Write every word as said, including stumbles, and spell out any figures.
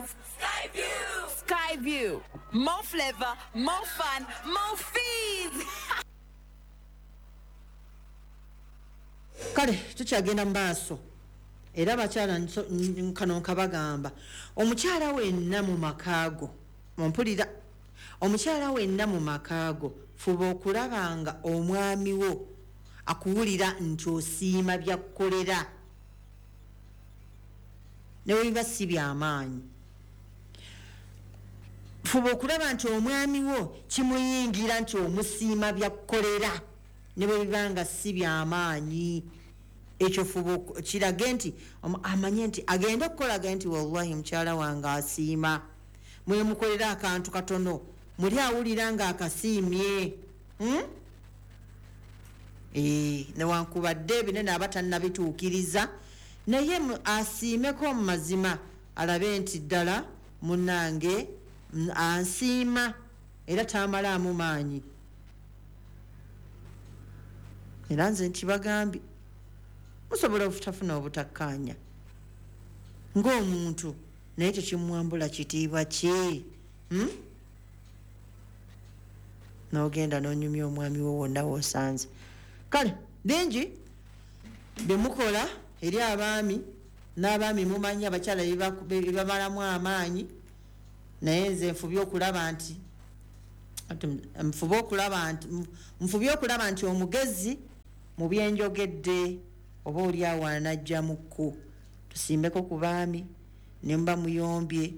Skyview! Skyview. More flavor, more fun, more fees! Kale tukyagenda mu maaso era abakyala kano nkabagamba, omukyala wenna mu makaago, mumpulira, omukyala wenna mu makaago, fuba okulaba nga omwami wo akuwulira nti osiima byakkolera ne bwe biba si byamaanyi. Fuba okulaba nti omwami wo kimuyingira nti omusiima byakkolera ne bwe biba nga si byamaanyi. Ekyo fuba kirage nti amanye nti agenda okukola ge nti wallahi mukyala wange asiima, mwemukolera akantu katono muli awulira nga akasiimye. hmm? E, newankubadde ebinene aba tannabituukiriza, naye asiimeko mu mazima alabe nti ddala munnange ansiima era tamalaamu maanyi. Era nze nkibagambye, musobola obutafuna obutakkaanya ng'omuntu, naye tekimwambula kitiibwa kye. hmm? N'ogenda n'onyumya omwami wo wonna w'osanze. Kale bingi byemukola eri abaami, n'abaami mumanyi abakyala bebamalamu amaanyi, naye nze nfubye okulaba nti nfube okulaba nti nfubye okulaba nti omugezi mu byenjogedde oba oli awo anajjamukko. Tusimbeko ku baami ne muba muyombye.